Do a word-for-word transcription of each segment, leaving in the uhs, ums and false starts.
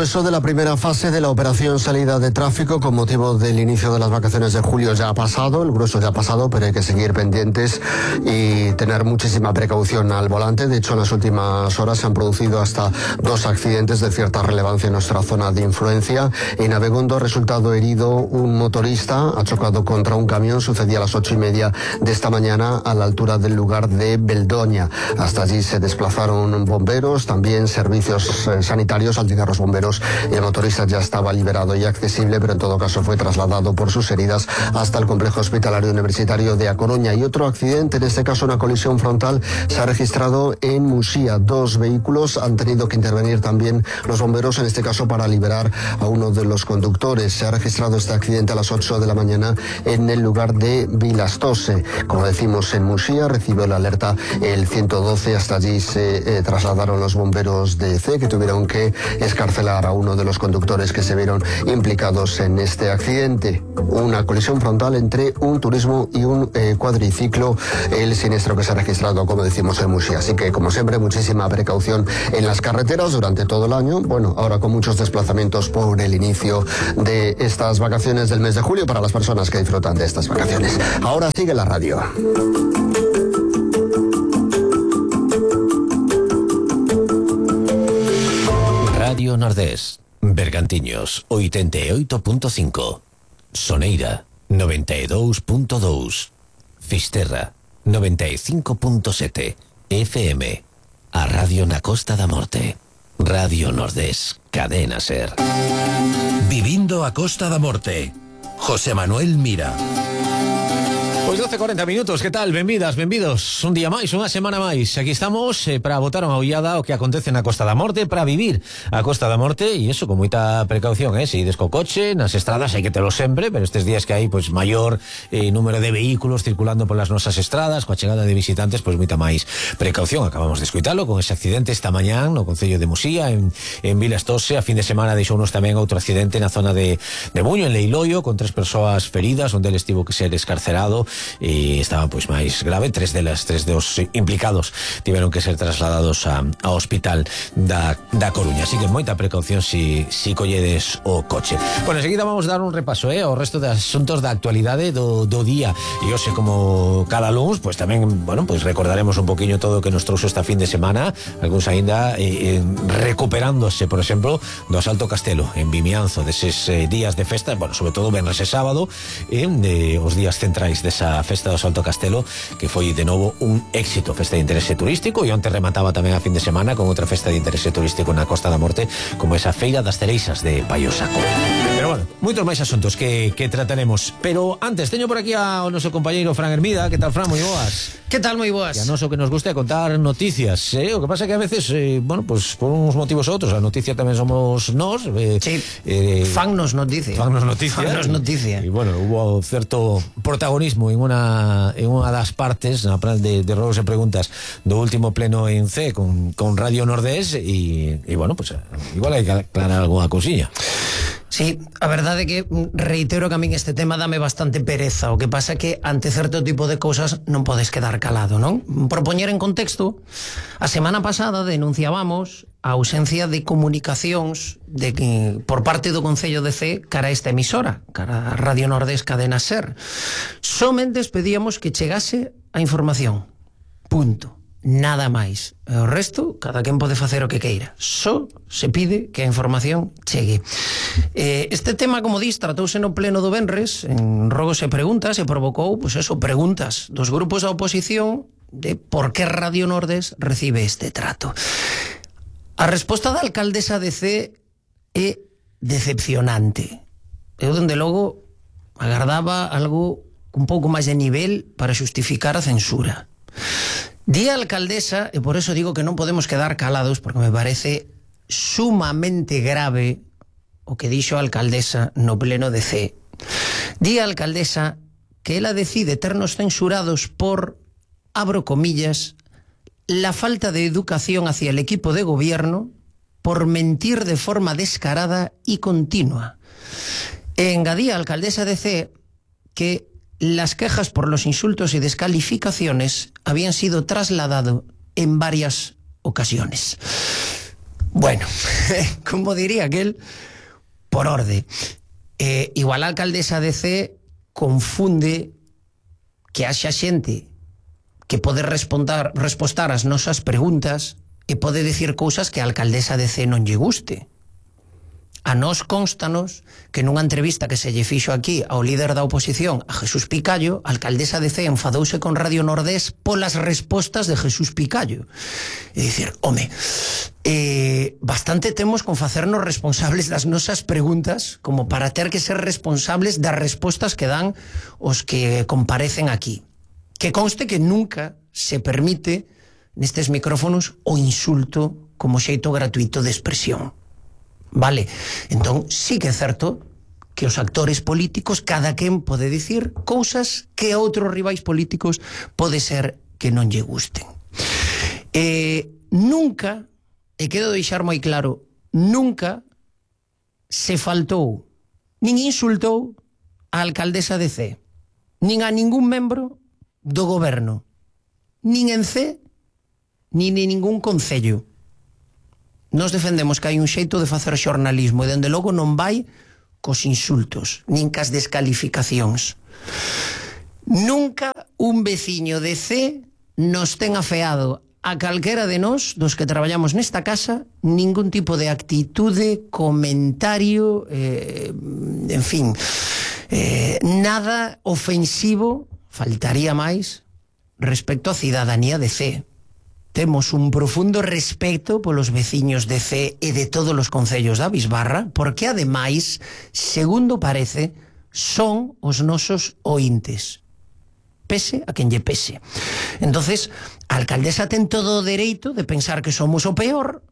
grueso de la primera fase de la operación salida de tráfico con motivo del inicio de las vacaciones de julio ya ha pasado, el grueso ya ha pasado, pero hay que seguir pendientes y tener muchísima precaución al volante. De hecho, en las últimas horas se han producido hasta dos accidentes de cierta relevancia en nuestra zona de influencia. En Abegondo ha resultado herido un motorista, ha chocado contra un camión, sucedía a las ocho y media de esta mañana a la altura del lugar de Beldoña. Hasta allí se desplazaron bomberos, también servicios eh, sanitarios. Al llegar los bomberos, el motorista ya estaba liberado y accesible, pero en todo caso fue trasladado por sus heridas hasta el complejo hospitalario universitario de A Coruña. Y otro accidente, en este caso una colisión frontal, se ha registrado en Muxía. Dos vehículos, han tenido que intervenir también los bomberos, en este caso para liberar a uno de los conductores. Se ha registrado este accidente a las ocho de la mañana en el lugar de Vilastose. Como decimos, en Muxía recibió la alerta el ciento doce. Hasta allí se eh, trasladaron los bomberos de C, que tuvieron que escarcelar a uno de los conductores que se vieron implicados en este accidente. Una colisión frontal entre un turismo y un eh, cuadriciclo, el siniestro que se ha registrado, como decimos, en Muxía. Así que, como siempre, muchísima precaución en las carreteras durante todo el año. Bueno, ahora con muchos desplazamientos por el inicio de estas vacaciones del mes de julio para las personas que disfrutan de estas vacaciones. Ahora sigue la radio. Radio Nordés, Bergantiños, ochenta y ocho punto cinco, Soneira, noventa y dos punto dos, Fisterra, noventa y cinco punto siete, F M, a Radio na Costa da Morte, Radio Nordés, Cadena Ser. Vivindo a Costa da Morte, José Manuel Mira. Pois doce e cuarenta minutos, que tal? Benvidas, benvidos. Un día máis, unha semana máis. Aquí estamos eh, para botar unha ollada o que acontece na Costa da Morte, para vivir a Costa da Morte, e eso con moita precaución, eh? Se ides co coche, nas estradas hai que telo sempre, pero estes días que hai pois maior eh, número de vehículos circulando polas nosas estradas, coa chegada de visitantes, pois moita máis precaución. Acabamos de escoitalo con ese accidente esta mañán no concello de Muxía, en, en Vilastose. A fin de semana deixounos tamén outro accidente na zona de, de Buño, en Leiloio, con tres persoas feridas, onde eles tivo que ser escarcerado e estaba pois máis grave. Tres delas, tres dos implicados tiveron que ser trasladados a, a hospital da, da Coruña. Así que moita precaución si, si colledes o coche. Bueno, enseguida vamos a dar un repaso eh, ao resto de asuntos da actualidade do, do día, e hoxe, como cada luns, pois tamén, bueno, pois recordaremos un poquinho todo o que nos trouxo esta fin de semana, algúns aínda eh, eh, recuperándose, por exemplo, do Asalto Castelo en Vimianzo, deses eh, días de festa, bueno, sobre todo venres e sábado, eh, de, os días centrais desa festa do Asalto Castelo, que foi de novo un éxito, festa de interese turístico, e onte remataba tamén a fin de semana con outra festa de interese turístico na Costa da Morte, como esa Feira das Cereixas de Paiosaco. Pero bueno, moitos máis asuntos que, que trataremos, pero antes teño por aquí ao noso compañeiro Fran Hermida. Que tal, Fran? Moi boas. Que tal? Moi boas. E a noso que nos gusta é contar noticias, eh? O que pasa é que a veces, eh, bueno, pues por uns motivos ou outros, a noticia tamén somos nós, eh, sí, eh, fan nos noticia. Fan nos noticia. Fan nos noticia. E bueno, hubo certo protagonismo en unha en unha das partes, na plan de, de robos e preguntas do último pleno en C con, con Radio Nordés, e, e bueno, pues igual hai que aclarar algunha cousiña. Sí, a verdade é que reitero que a min este tema dame bastante pereza. O que pasa é que ante certo tipo de cousas non podes quedar calado, non? Por poñer en contexto, a semana pasada denunciábamos a ausencia de comunicacións de que, por parte do Concello de C cara a esta emisora, cara a Radio Nordés Cadena Ser. Somente pedíamos que chegase a información. Punto. Nada máis. E o resto, cada quen pode facer o que queira. Só se pide que a información chegue. Eh, este tema, como dis, tratouse no pleno do venres, en rogos e preguntas, e provocou, pois eso, preguntas dos grupos da oposición de por que Radio Nordés recibe este trato. A resposta da alcaldesa de C é decepcionante. Eu, dende logo, agardaba algo un pouco máis de nivel para xustificar a censura. Di a alcaldesa, e por eso digo que non podemos quedar calados, porque me parece sumamente grave o que dixo a alcaldesa no pleno de C. Di a alcaldesa que ela decide ternos censurados por, abro comillas, la falta de educación hacia el equipo de gobierno, por mentir de forma descarada y continua. E engadía a alcaldesa de C que las quejas por los insultos y descalificaciones habían sido trasladadas en varias ocasiones. Bueno, como diría aquel, por orde. Eh, igual a alcaldesa de C confunde que haxa xente que pode responder, respostar as nosas preguntas e pode decir cousas que a alcaldesa de C non lle guste. A nós constanos que nunha entrevista que se lle fixo aquí ao líder da oposición, a Jesús Picallo, a alcaldesa de C enfadouse con Radio Nordés polas respostas de Jesús Picallo. É dicir, home, eh, bastante temos con facernos responsables das nosas preguntas como para ter que ser responsables das respostas que dan os que comparecen aquí. Que conste que nunca se permite nestes micrófonos o insulto como xeito gratuito de expresión. Vale, entón sí que é certo que os actores políticos cada quen pode dicir cousas que a outros rivais políticos pode ser que non lle gusten. Eh, nunca, e quero deixar moi claro, nunca se faltou nin insultou a alcaldesa de C, nin a ningún membro do goberno, nin en C, nin en ningún concello. Nos defendemos que hai un xeito de facer xornalismo e dende logo non vai cos insultos, nin cas descalificacións. Nunca un veciño de C nos ten afeado a calquera de nós, dos que traballamos nesta casa, ningún tipo de actitude, comentario, eh, en fin, eh, nada ofensivo, faltaría máis, respecto á cidadanía de C. Temos un profundo respeto polos veciños de C e de todos os concellos da Bisbarra, porque ademais, segundo parece, son os nosos ointes. Pese a quen lle pese. Entonces, a alcaldesa ten todo o dereito de pensar que somos o peor,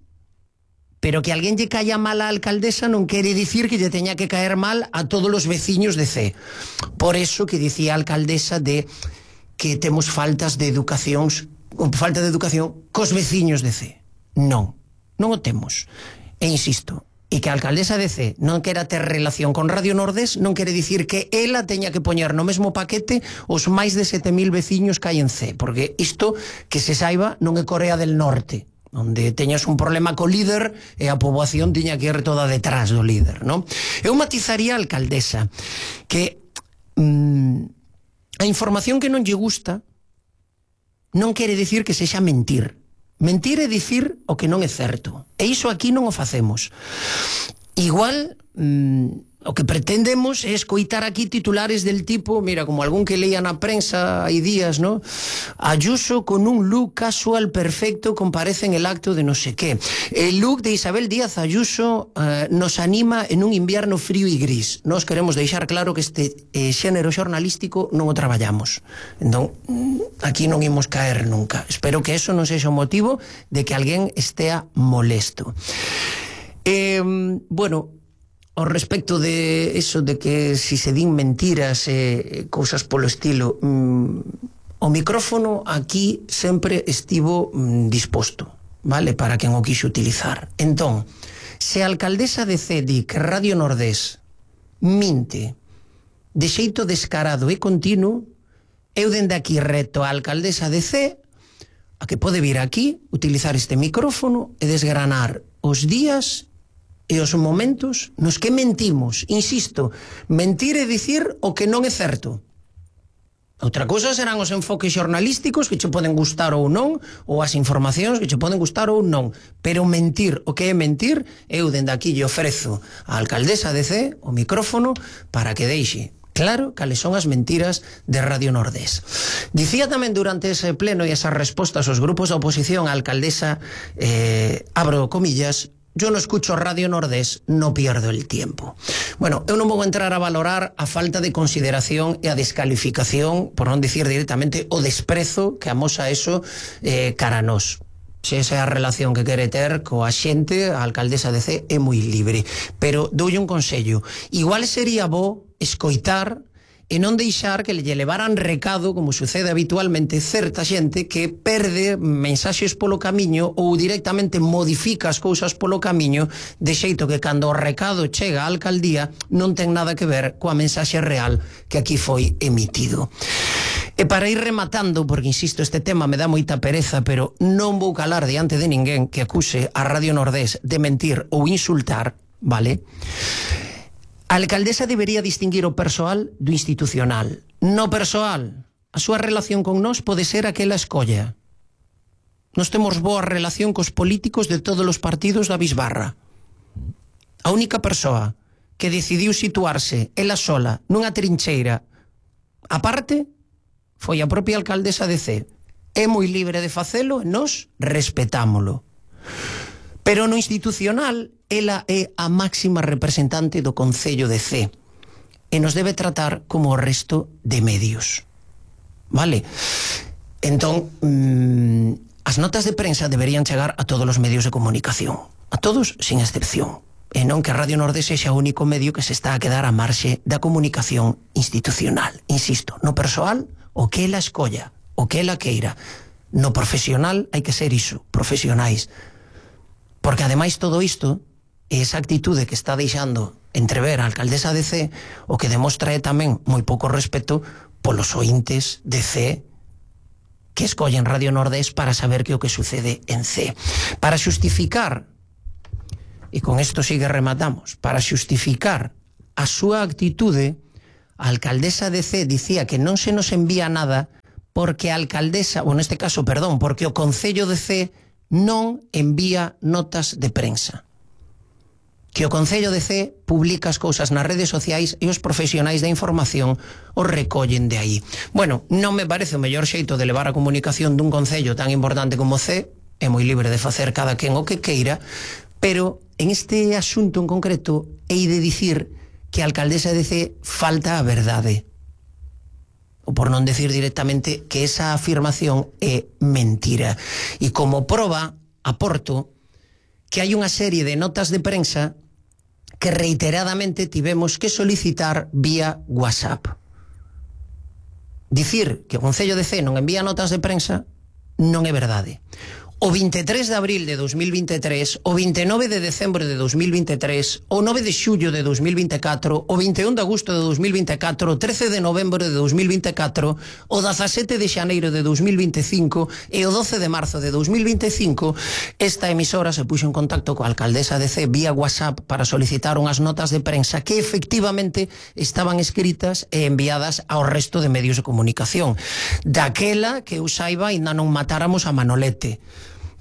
pero que alguén lle caia mal á alcaldesa non quere dicir que lle teña que caer mal a todos os veciños de C. Por eso que dicía a alcaldesa de que temos faltas de educacións falta de educación cos veciños de C. Non, non o temos. E insisto, e que a alcaldesa de C non quera ter relación con Radio Nordés non quere dicir que ela teña que poñer no mesmo paquete os máis de sete mil veciños que hai en C, porque isto, que se saiba, non é Corea del Norte, onde teñas un problema co líder e a poboación tiña que ir toda detrás do líder, non? Eu matizaría a alcaldesa que mmm, a información que non lle gusta non quere dicir que sexa mentir. Mentir é dicir o que non é certo. E iso aquí non o facemos. Igual, mmm, o que pretendemos é escoitar aquí titulares del tipo, mira, como algún que leía na prensa hai días, ¿no? Ayuso con un look casual perfecto comparece en el acto de no sé qué. El look de Isabel Díaz Ayuso uh, nos anima en un invierno frío e gris. Nos queremos deixar claro que este eh, xénero xornalístico non o traballamos. Entón, aquí non imos caer nunca. Espero que eso non sexa o motivo de que alguén estea molesto. Eh, bueno, ao respecto de eso de que si se din mentiras e eh, cousas polo estilo, mm, o micrófono aquí sempre estivo mm, disposto, vale, para quen o quixo utilizar. Entón, se a alcaldesa de C di que Radio Nordés minte de xeito descarado e continuo, eu dende aquí reto a alcaldesa de C a que pode vir aquí, utilizar este micrófono e desgranar os días e os momentos nos que mentimos. Insisto, mentir é dicir o que non é certo. Outra cousa serán os enfoques xornalísticos que che poden gustar ou non, ou as informacións que che poden gustar ou non. Pero mentir, o que é mentir, eu dende aquí lle ofrezo á alcaldesa de C o micrófono para que deixe claro cales son as mentiras de Radio Nordés. Dicía tamén durante ese pleno e esas respostas aos grupos da oposición a alcaldesa, eh, abro comillas, yo no escucho Radio Nordés, no pierdo el tiempo. Bueno, eu non vou entrar a valorar a falta de consideración e a descalificación, por non dicir directamente o desprezo que amosa eso eh, cara a nós. Se esa é a relación que quere ter coa xente, a alcaldesa de C é moi libre. Pero doulle un consello. Igual sería bo escoitar e non deixar que lle levaran recado, como sucede habitualmente, certa xente que perde mensaxes polo camiño ou directamente modifica as cousas polo camiño, de xeito que cando o recado chega á alcaldía non ten nada que ver coa mensaxe real que aquí foi emitido. E para ir rematando, porque insisto, este tema me dá moita pereza, pero non vou calar diante de ninguén que acuse a Radio Nordés de mentir ou insultar, vale? A alcaldesa debería distinguir o persoal do institucional. No persoal, a súa relación con nós pode ser aquela escolla. Nos temos boa relación cos políticos de todos os partidos da bisbarra. A única persoa que decidiu situarse ela sola nunha trincheira aparte foi a propia alcaldesa de Cee. É moi libre de facelo e nós respetámolo. Pero no institucional, ela é a máxima representante do Concello de Cee e nos debe tratar como o resto de medios. Vale? Entón, mmm, as notas de prensa deberían chegar a todos os medios de comunicación. A todos, sin excepción. E non que a Radio Nordés sexa o único medio que se está a quedar a marxe da comunicación institucional. Insisto, no persoal, o que ela escolla, o que ela queira. No profesional hai que ser iso, profesionais. Porque ademais todo isto, esa actitude que está deixando entrever a alcaldesa de Cee, o que demostra é tamén moi pouco respeto polos ointes de Cee que escollen Radio Nordés para saber que o que sucede en Cee. Para xustificar, e con isto sigue rematamos, para xustificar a súa actitude, a alcaldesa de Cee dicía que non se nos envía nada porque a alcaldesa, ou neste caso, perdón, porque o Concello de Cee non envía notas de prensa. Que o Concello de Cee publica as cousas nas redes sociais e os profesionais da información os recollen de aí. Bueno, non me parece o mellor xeito de levar a comunicación dun concello tan importante como Cee, é moi libre de facer cada quen o que queira, pero en este asunto en concreto hei de dicir que a alcaldesa de Cee falta a verdade. Ou por non decir directamente que esa afirmación é mentira. E como proba, aporto que hai unha serie de notas de prensa que reiteradamente tivemos que solicitar vía WhatsApp. Dicir que o Concello de Cee non envía notas de prensa non é verdade. O vinte e tres de abril de dos mil vinte e tres, o vinte e nove de decembro de dos mil vinte e tres, o nove de xullo de dos mil vinte e catro, o vinte e un de agosto de dos mil vinte e catro, o trece de novembro de dos mil vinte e catro, o dezasete de xaneiro de dos mil vinte e cinco e o doce de marzo de dos mil vinte e cinco, esta emisora se puxo en contacto coa alcaldesa de Cee vía WhatsApp para solicitar unhas notas de prensa que efectivamente estaban escritas e enviadas ao resto de medios de comunicación. Daquela que eu saiba ainda non matáramos a Manolete.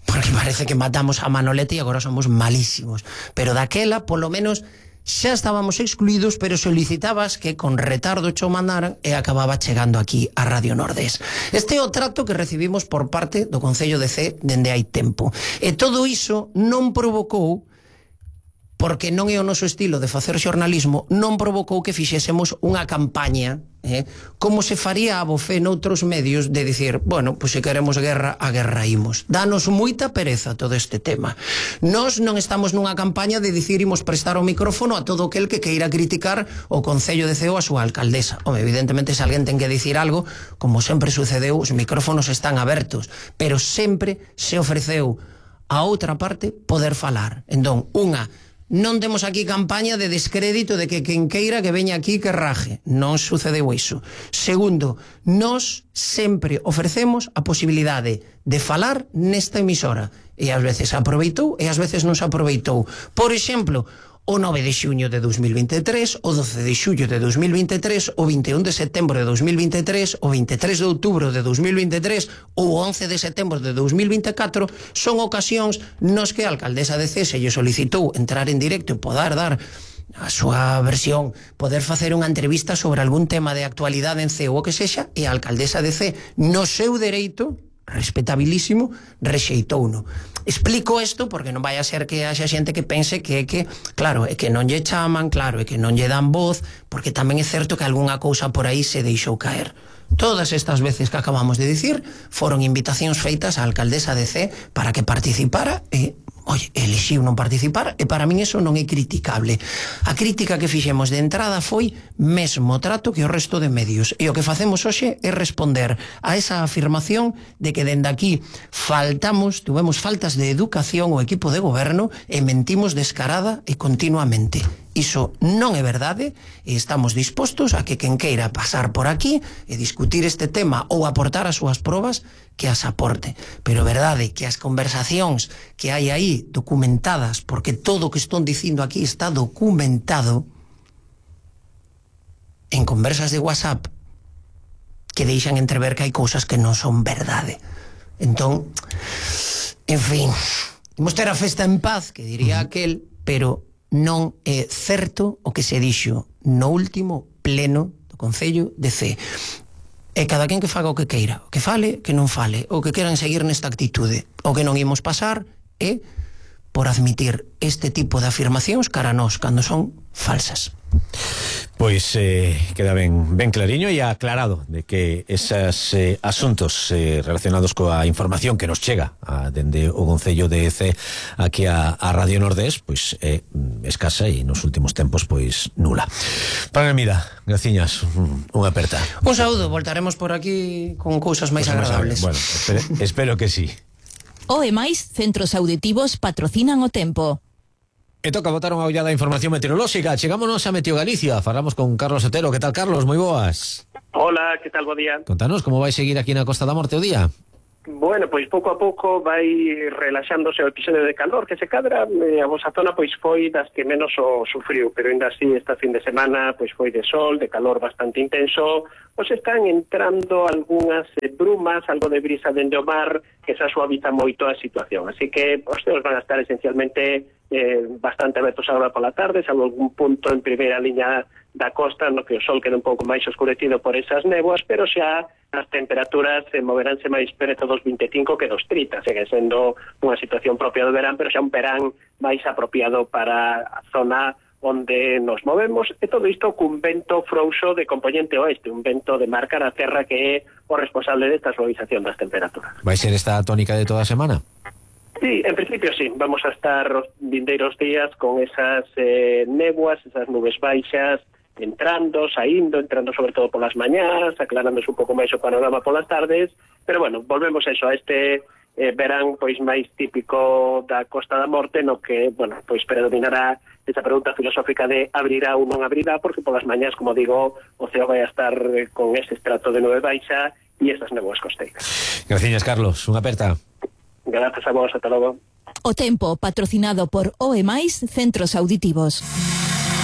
Porque parece que matamos a Manolete e agora somos malísimos. Pero daquela, polo menos, xa estábamos excluídos, pero solicitabas que con retardo cho mandaran e acababa chegando aquí a Radio Nordés. Este é o trato que recibimos por parte do Concello de Cee dende hai tempo. E todo iso non provocou, porque non é o noso estilo de facer xornalismo, non provocou que fixésemos unha campaña, eh, como se faría a bofé noutros medios de dicir, bueno, pois se queremos guerra, a guerra imos. Danos moita pereza todo este tema. Nós non estamos nunha campaña de dicir imos prestar o micrófono a todo aquel que queira criticar o Concello de Cee ou a súa alcaldesa. Home, evidentemente, se alguén ten que dicir algo, como sempre sucedeu, os micrófonos están abertos, pero sempre se ofreceu a outra parte poder falar. Entón, unha, non temos aquí campaña de descrédito de que quen queira que veña aquí que raje. Non sucedeu iso. Segundo, nós sempre ofrecemos a posibilidade de falar nesta emisora. E ás veces aproveitou e ás veces non se aproveitou. Por exemplo, o nove de xuño de dos mil vinte e tres, o doce de xullo de dos mil vinte e tres, o vinte e un de setembro de dos mil vinte e tres, o vinte e tres de outubro de dos mil vinte e tres ou o once de setembro de dos mil vinte e catro son ocasións nos que a alcaldesa de Cee se lle solicitou entrar en directo e poder dar a súa versión, poder facer unha entrevista sobre algún tema de actualidade en Cee ou o que sexa, e a alcaldesa de Cee, no seu dereito, respetabilísimo, rexeitouno. Explico isto porque non vai a ser que haxa xente que pense que é que, claro, é que non lle chaman, claro, é que non lle dan voz, porque tamén é certo que algunha cousa por aí se deixou caer. Todas estas veces que acabamos de dicir foron invitacións feitas á alcaldesa de Cee para que participara e, oi, elixiu non participar, e para min eso non é criticable. A crítica que fixemos de entrada foi mesmo trato que o resto de medios, e o que facemos hoxe é responder a esa afirmación de que dende aquí faltamos, tuvemos faltas de educación o equipo de goberno e mentimos descarada e continuamente. Iso non é verdade e estamos dispostos a que quen queira pasar por aquí e discutir este tema ou aportar as súas probas que as aporte. Pero verdade que as conversacións que hai aí documentadas, porque todo o que estón dicindo aquí está documentado en conversas de WhatsApp que deixan entrever que hai cousas que non son verdade. Entón, en fin, imos ter a festa en paz, que diría aquel, pero non é certo o que se dixo no último pleno do Concello de Cee. E cada quen que faga o que queira, o que fale, que non fale, o que queran seguir nesta actitude. O que non imos pasar é por admitir este tipo de afirmacións cara a nós cando son falsas. Pois eh, queda ben, ben clariño e aclarado de que esos eh, asuntos eh, relacionados coa información que nos chega a, dende o Concello de Cee aquí a, a Radio Nordés, pois é eh, escasa e nos últimos tempos pois nula. Para Hermida, graciñas, unha aperta. Un saúdo, voltaremos por aquí con cousas máis pues agradables. Bueno, espero, espero que sí. O e máis centros auditivos patrocinan o tempo. E toca botar unha ollada a información meteorolóxica. Chegámonos a Meteo Galicia. Falamos con Carlos Otero. Que tal, Carlos? Moi boas. Hola, que tal, bo día? Contanos como vai seguir aquí na Costa da Morte o día. Bueno, pois pouco a pouco vai relaxándose o episodio de calor que se cadra, e a vosa zona pois foi das que menos o sufriu, pero ainda así esta fin de semana pois foi de sol, de calor bastante intenso, pois están entrando algunhas eh, brumas, algo de brisa dende o mar que xa suaviza moito a situación, así que os ceos van a estar esencialmente eh, bastante abertos agora pola tarde, salvo algún punto en primeira liña da costa no que o sol queda un pouco máis oscurecido por esas néboas, pero xa as temperaturas se moveránse máis preto dos vinte e cinco que dos trinta, segue sendo unha situación propia do verán, pero xa un verán máis apropiado para a zona onde nos movemos, e todo isto cun vento frouxo de componente oeste, un vento de mar cara a terra que é o responsable desta suavización das temperaturas. Vai ser esta tónica de toda a semana? Sí, en principio sí, vamos a estar os vindeiros días con esas eh, néboas, esas nubes baixas, entrando, saindo, entrando sobre todo polas mañás, aclarándose un pouco máis o panorama polas tardes, pero bueno, volvemos a eso, a este eh, verán pois máis típico da Costa da Morte, no que, bueno, pois predominará esa pregunta filosófica de abrirá ou non abrirá, porque polas mañás, como digo, o ceo vai a estar eh, con ese estrato de nube baixa e esas néboas costeiras. Gracias, Carlos. Unha aperta. Gracias a vos, ata logo. O tempo patrocinado por O E máis Centros Auditivos.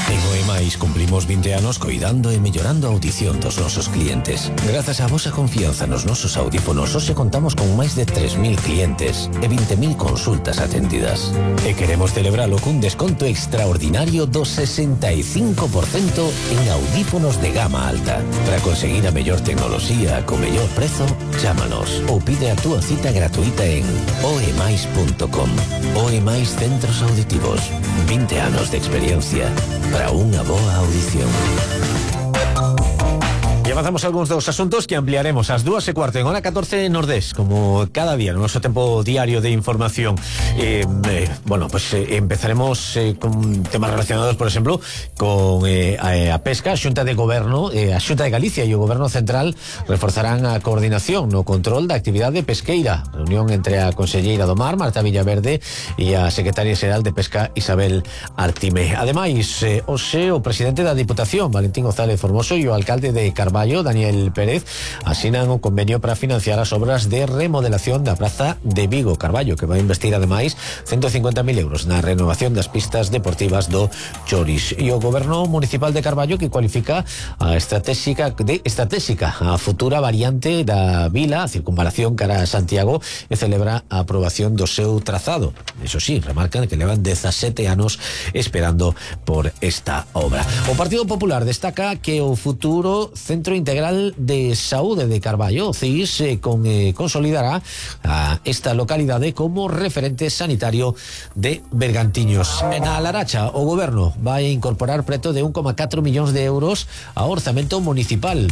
En O E máis cumplimos vinte anos coidando e mellorando a audición dos nosos clientes. Grazas á vosa confianza nos nosos audífonos, hoxe contamos con máis de tres mil clientes e vinte mil consultas atendidas. E queremos celebralo cun desconto extraordinario do sesenta e cinco por cento en audífonos de gama alta. Para conseguir a mellor tecnoloxía co mellor prezo, chámanos ou pide a túa cita gratuita en o e máis punto com. O E máis Centros Auditivos. vinte anos de experiencia para unha boa audición. E avanzamos algúns dos asuntos que ampliaremos ás dúas e cuarto en hora catorce Nordés, como cada día no noso tempo diario de información. Eh, eh, bueno, pues eh, empezaremos eh, con temas relacionados, por exemplo, con eh, a, a pesca. A Xunta de Goberno, eh, a Xunta de Galicia e o Goberno Central reforzarán a coordinación no control da actividade pesqueira. Reunión entre a Conselleira do Mar, Marta Villaverde, e a Secretaria Xeral de Pesca, Isabel Artime. Ademais, eh, hoxe o presidente da Diputación, Valentín González Formoso, e o alcalde de Carballo, Daniel Pérez, asinan un convenio para financiar as obras de remodelación da praza de Vigo. Carballo, que vai investir ademais ciento cincuenta mil euros na renovación das pistas deportivas do Choris. E o Goberno Municipal de Carballo, que cualifica a estratégica de estratégica a futura variante da vila, a circunvalación cara a Santiago, e celebra a aprobación do seu trazado. Eso sí, remarcan que levan dezasete anos esperando por esta obra. O Partido Popular destaca que o futuro Centro Integral de Saúde de Carballo, C I S, eh, con, eh, consolidará a esta localidade como referente sanitario de Bergantiños. En a Laracha, o Goberno vai incorporar preto de un coma catro millóns de euros ao orzamento municipal.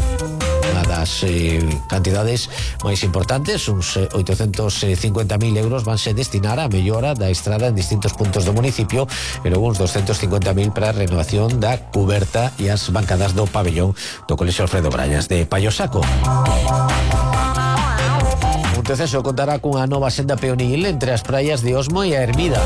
Unha das eh, cantidades máis importantes, uns eh, oitocentos cincuenta mil euros, vanse destinar a mellora da estrada en distintos puntos do municipio, e logo uns doscientos cincuenta mil para a renovación da cuberta e as bancadas do pabellón do Colexio Alfredo Brañas de Payosaco. Un Teceso contará cunha nova senda peonil entre as praias de Osmo e a Hermida.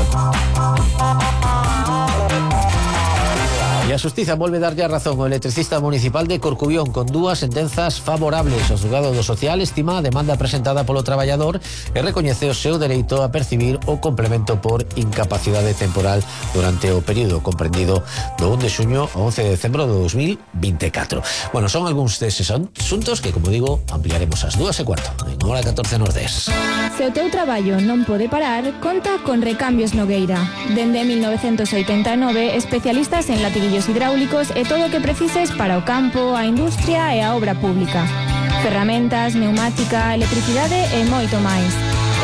a Xustiza volve darlle a razón ao electricista municipal de Corcubión con dúas sentenzas favorables. O xulgado do Social estima a demanda presentada polo traballador e recoñece o seu dereito a percibir o complemento por incapacidade temporal durante o período comprendido do un de xuño ao once de decembro de dos mil veinticuatro. Bueno, son algúns deses asuntos que, como digo, ampliaremos ás dúas e cuarto en hora catorce Nordés. Se o teu traballo non pode parar, conta con Recambios Nogueira. Dende mil novecentos oitenta e nove, especialistas en latiguillos hidráulicos e todo o que precises para o campo, a industria e a obra pública. Ferramentas, neumática, electricidade e moito máis.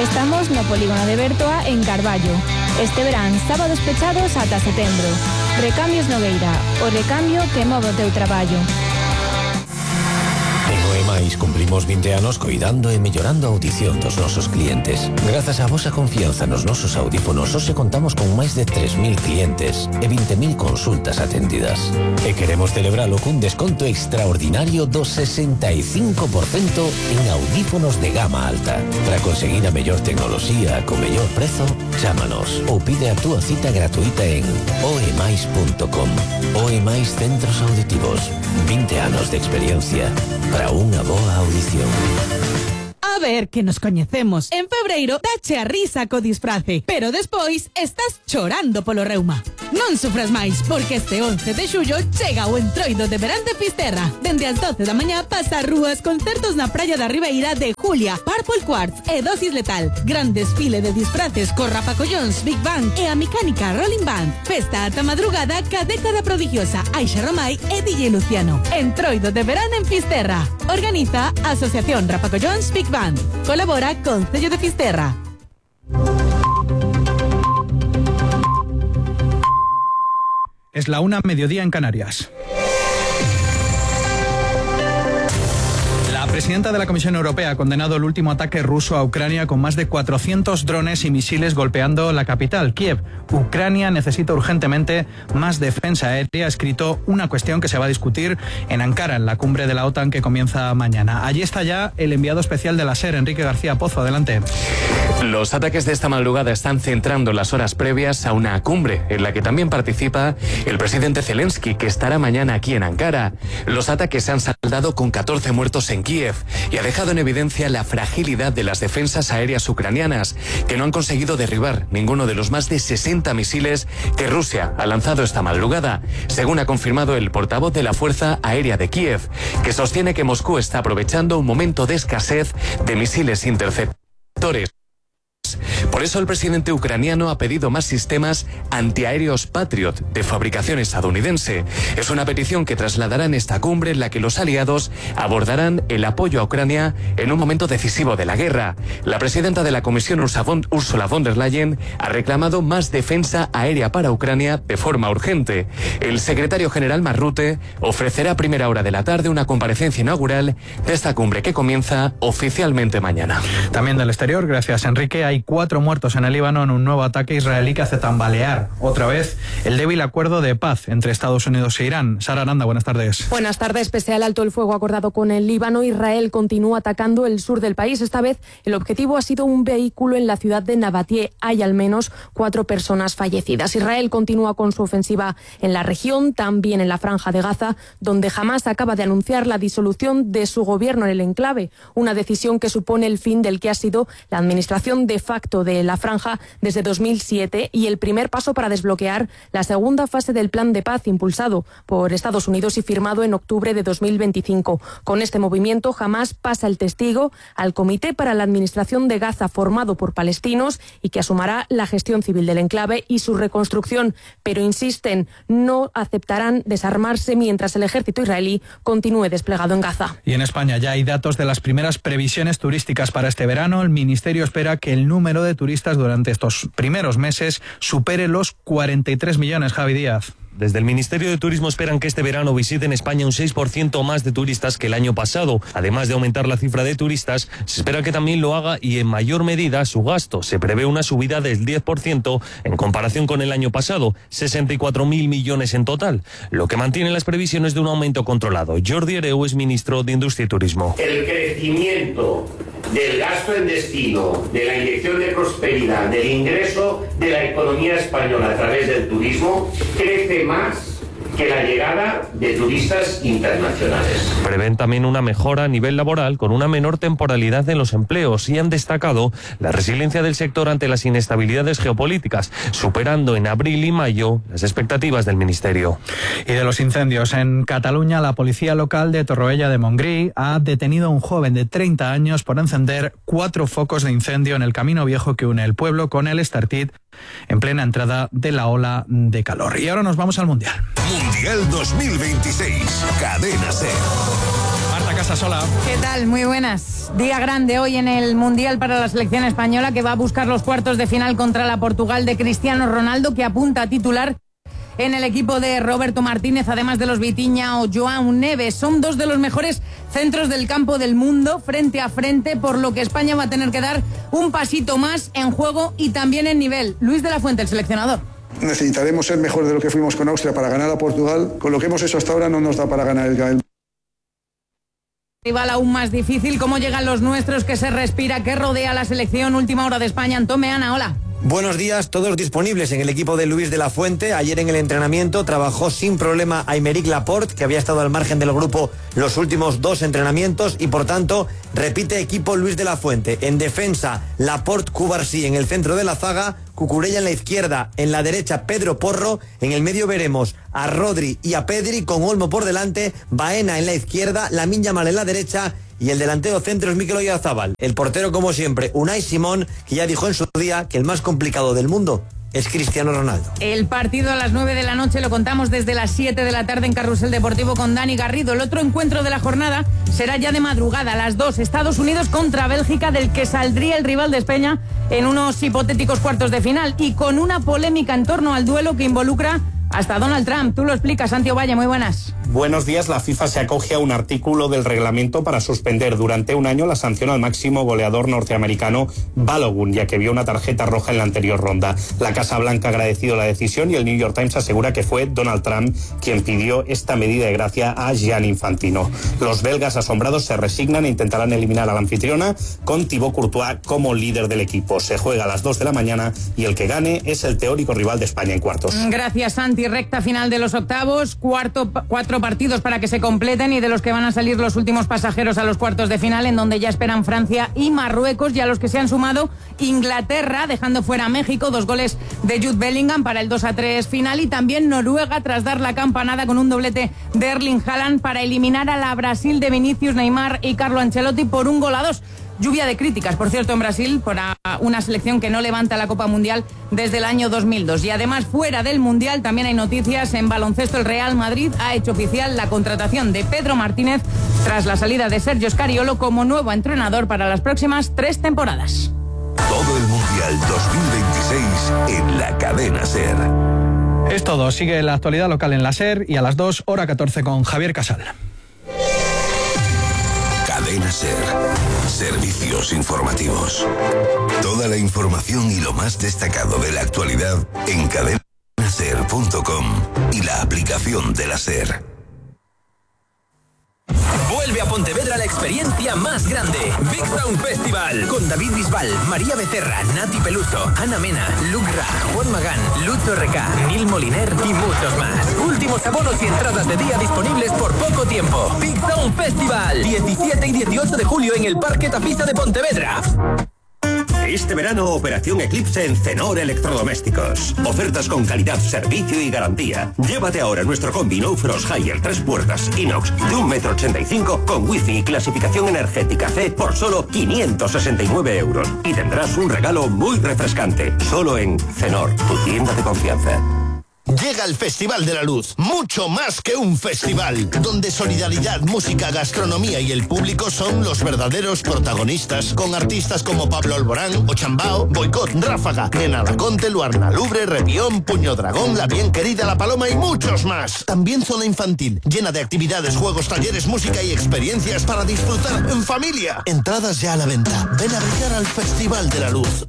Estamos no polígono de Bertoa en Carballo. Este verán, sábados pechados ata setembro. Recambios Nogueira, o recambio que move o teu traballo. En OEMAIS cumplimos vinte anos coidando e mellorando a audición dos nosos clientes. Grazas á vosa confianza nos nosos audífonos, hoxe contamos con máis de tres mil clientes e vinte mil consultas atendidas. E queremos celebralo cun desconto extraordinario do sesenta e cinco por cento en audífonos de gama alta. Para conseguir a mellor tecnoloxía co mellor prezo, chámanos ou pide a túa cita gratuita en oemais punto com. OEMAIS Centros Auditivos. vinte anos de experiencia para unha boa audición. A ver, que nos coñecemos. En febreiro dache a risa co disfrace, pero despois estás chorando polo reuma. Non sufras máis, porque este once de xullo chega o entroido de verán de Fisterra. Dende as doce da mañá pasa as rúas concertos na praia da Ribeira de Julia, Purple Quartz e Dosis Letal. Gran desfile de disfraces co Rapacollóns, Big Bang e a mecánica Rolling Band. Festa ata madrugada ca década prodigiosa, Aixa Romai e D J Luciano. Entroido de verán en Fisterra. Organiza a Asociación Rapacollóns Big Bang. Colabora con Cello de Fisterra. Es la una, mediodía en Canarias. La presidenta de la Comisión Europea ha condenado el último ataque ruso a Ucrania con más de cuatrocientos drones y misiles golpeando la capital, Kiev. Ucrania necesita urgentemente más defensa aérea, ha escrito una cuestión que se va a discutir en Ankara, en la cumbre de la OTAN que comienza mañana. Allí está ya el enviado especial de la SER, Enrique García Pozo. Adelante. Los ataques de esta madrugada están centrando las horas previas a una cumbre en la que también participa el presidente Zelensky, que estará mañana aquí en Ankara. Los ataques se han saldado con catorce muertos en Kiev y ha dejado en evidencia la fragilidad de las defensas aéreas ucranianas, que no han conseguido derribar ninguno de los más de sesenta misiles que Rusia ha lanzado esta madrugada, según ha confirmado el portavoz de la Fuerza Aérea de Kiev, que sostiene que Moscú está aprovechando un momento de escasez de misiles interceptores. Por eso el presidente ucraniano ha pedido más sistemas antiaéreos Patriot de fabricación estadounidense. Es una petición que trasladará en esta cumbre en la que los aliados abordarán el apoyo a Ucrania en un momento decisivo de la guerra. La presidenta de la Comisión, Ursula von der Leyen, ha reclamado más defensa aérea para Ucrania de forma urgente. El secretario general Mark Rutte ofrecerá a primera hora de la tarde una comparecencia inaugural de esta cumbre que comienza oficialmente mañana. También del exterior, gracias Enrique, hay cuatro muertos en el Líbano en un nuevo ataque israelí que hace tambalear otra vez el débil acuerdo de paz entre Estados Unidos e Irán. Sara Aranda, buenas tardes. Buenas tardes. Pese al alto el fuego acordado con el Líbano, Israel continúa atacando el sur del país. Esta vez el objetivo ha sido un vehículo en la ciudad de Nabatie. Hay al menos cuatro personas fallecidas. Israel continúa con su ofensiva en la región, también en la franja de Gaza, donde Hamás acaba de anunciar la disolución de su gobierno en el enclave, una decisión que supone el fin del que ha sido la administración de facto de la franja desde dos mil siete y el primer paso para desbloquear la segunda fase del plan de paz impulsado por Estados Unidos y firmado en octubre de dos mil veinticinco. Con este movimiento, Hamás pasa el testigo al Comité para la Administración de Gaza, formado por palestinos y que asumirá la gestión civil del enclave y su reconstrucción, pero insisten, no aceptarán desarmarse mientras el ejército israelí continúe desplegado en Gaza. Y en España ya hay datos de las primeras previsiones turísticas para este verano. El Ministerio espera que el número de turistas durante estos primeros meses supere los cuarenta y tres millones, Javi Díaz. Desde el Ministerio de Turismo esperan que este verano visiten España un seis por ciento más de turistas que el año pasado. Además de aumentar la cifra de turistas, se espera que también lo haga y en mayor medida su gasto. Se prevé una subida del diez por ciento en comparación con el año pasado, sesenta y cuatro mil millones en total, lo que mantiene las previsiones de un aumento controlado. Jordi Hereu es ministro de Industria y Turismo. El crecimiento del gasto en destino, de la inyección de prosperidad, del ingreso de la economía española a través del turismo, crece más que la llegada de turistas internacionales. Prevén también una mejora a nivel laboral con una menor temporalidad en los empleos y han destacado la resiliencia del sector ante las inestabilidades geopolíticas, superando en abril y mayo las expectativas del Ministerio. Y de los incendios en Cataluña, la policía local de Torroella de Montgrí ha detenido a un joven de treinta años por encender cuatro focos de incendio en el camino viejo que une el pueblo con el Estartit en plena entrada de la ola de calor. Y ahora nos vamos al Mundial. Mundial dos mil veintiséis, Cadena SER. Marta Casasola. ¿Qué tal? Muy buenas. Día grande hoy en el Mundial para la selección española, que va a buscar los cuartos de final contra la Portugal de Cristiano Ronaldo, que apunta a titular en el equipo de Roberto Martínez, además de los Vitinha o Joao Neves. Son dos de los mejores centros del campo del mundo frente a frente, por lo que España va a tener que dar un pasito más en juego y también en nivel. Luis de la Fuente, el seleccionador. Necesitaremos ser mejor de lo que fuimos con Austria para ganar a Portugal. Con lo que hemos hecho hasta ahora no nos da para ganar el Gael. Rival aún más difícil. ¿Cómo llegan los nuestros? ¿Qué se respira? ¿Qué rodea la selección? Última hora de España. Antón Meana, hola. Buenos días, todos disponibles en el equipo de Luis de la Fuente. Ayer en el entrenamiento trabajó sin problema Aymeric Laporte, que había estado al margen del grupo los últimos dos entrenamientos, y por tanto repite equipo Luis de la Fuente. En defensa, Laporte, Cubarsí en el centro de la zaga, Cucurella en la izquierda, en la derecha Pedro Porro, en el medio veremos a Rodri y a Pedri con Olmo por delante, Baena en la izquierda, Lamine Yamal en la derecha y el delantero centro es Mikel Oyarzabal. El portero, como siempre, Unai Simón, que ya dijo en su día que el más complicado del mundo es Cristiano Ronaldo. El partido a las nueve de la noche lo contamos desde las siete de la tarde en Carrusel Deportivo con Dani Garrido. El otro encuentro de la jornada será ya de madrugada, a las dos, Estados Unidos contra Bélgica, del que saldría el rival de España en unos hipotéticos cuartos de final, y con una polémica en torno al duelo que involucra hasta Donald Trump. Tú lo explicas, Santiago Valle, muy buenas. Buenos días. La FIFA se acoge a un artículo del reglamento para suspender durante un año la sanción al máximo goleador norteamericano Balogun, ya que vio una tarjeta roja en la anterior ronda. La Casa Blanca ha agradecido la decisión y el New York Times asegura que fue Donald Trump quien pidió esta medida de gracia a Gianni Infantino. Los belgas asombrados se resignan e intentarán eliminar a la anfitriona con Thibaut Courtois como líder del equipo. Se juega a las dos de la mañana y el que gane es el teórico rival de España en cuartos. Gracias, Santi. Recta final de los octavos, cuarto, cuatro partidos para que se completen, y de los que van a salir los últimos pasajeros a los cuartos de final, en donde ya esperan Francia y Marruecos, y a los que se han sumado Inglaterra, dejando fuera a México, dos goles de Jude Bellingham para el dos a tres final, y también Noruega tras dar la campanada con un doblete de Erling Haaland para eliminar a la Brasil de Vinicius, Neymar y Carlo Ancelotti por un gol a dos. Lluvia de críticas, por cierto, en Brasil, por una selección que no levanta la Copa Mundial desde el año dos mil dos. Y además, fuera del Mundial, también hay noticias. En baloncesto, el Real Madrid ha hecho oficial la contratación de Pedro Martínez tras la salida de Sergio Scariolo como nuevo entrenador para las próximas tres temporadas. Todo el Mundial dos mil veintiséis en la Cadena SER. Es todo. Sigue la actualidad local en la SER y a las dos, hora catorce, con Javier Casal. Cadena SER. Servicios informativos. Toda la información y lo más destacado de la actualidad en cadena ser punto com y la aplicación de la SER. Vuelve a Pontevedra la experiencia más grande. Big Sound Festival. Con David Bisbal, María Becerra, Nati Peluso, Ana Mena, Luke Ra, Juan Magán, Lucho R K, Nil Moliner y muchos más. Últimos abonos y entradas de día disponibles por poco tiempo. Big Sound Festival. diecisiete y dieciocho de julio en el Parque Tapisa de Pontevedra. Este verano, Operación Eclipse en Cenor Electrodomésticos. Ofertas con calidad, servicio y garantía. Llévate ahora nuestro combi No Frost Higher tres puertas inox de un metro ochenta y cinco con wifi y clasificación energética C por solo quinientos sesenta y nueve euros. Y tendrás un regalo muy refrescante. Solo en Cenor, tu tienda de confianza. Llega el Festival de la Luz, mucho más que un festival, donde solidaridad, música, gastronomía y el público son los verdaderos protagonistas, con artistas como Pablo Alborán, Ochambao, Boicot, Ráfaga, Nena Laconte, Luarna Lubre, Repión, Puño Dragón, La Bien Querida, La Paloma y muchos más. También zona infantil, llena de actividades, juegos, talleres, música y experiencias para disfrutar en familia. Entradas ya a la venta. Ven a brillar al Festival de la Luz.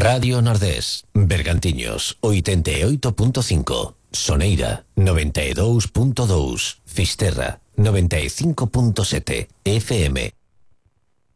Radio Nordés, Bergantiños, oitenta e oito punto cinco, Soneira, noventa e dous punto dous, Fisterra, noventa e cinco punto sete, F M.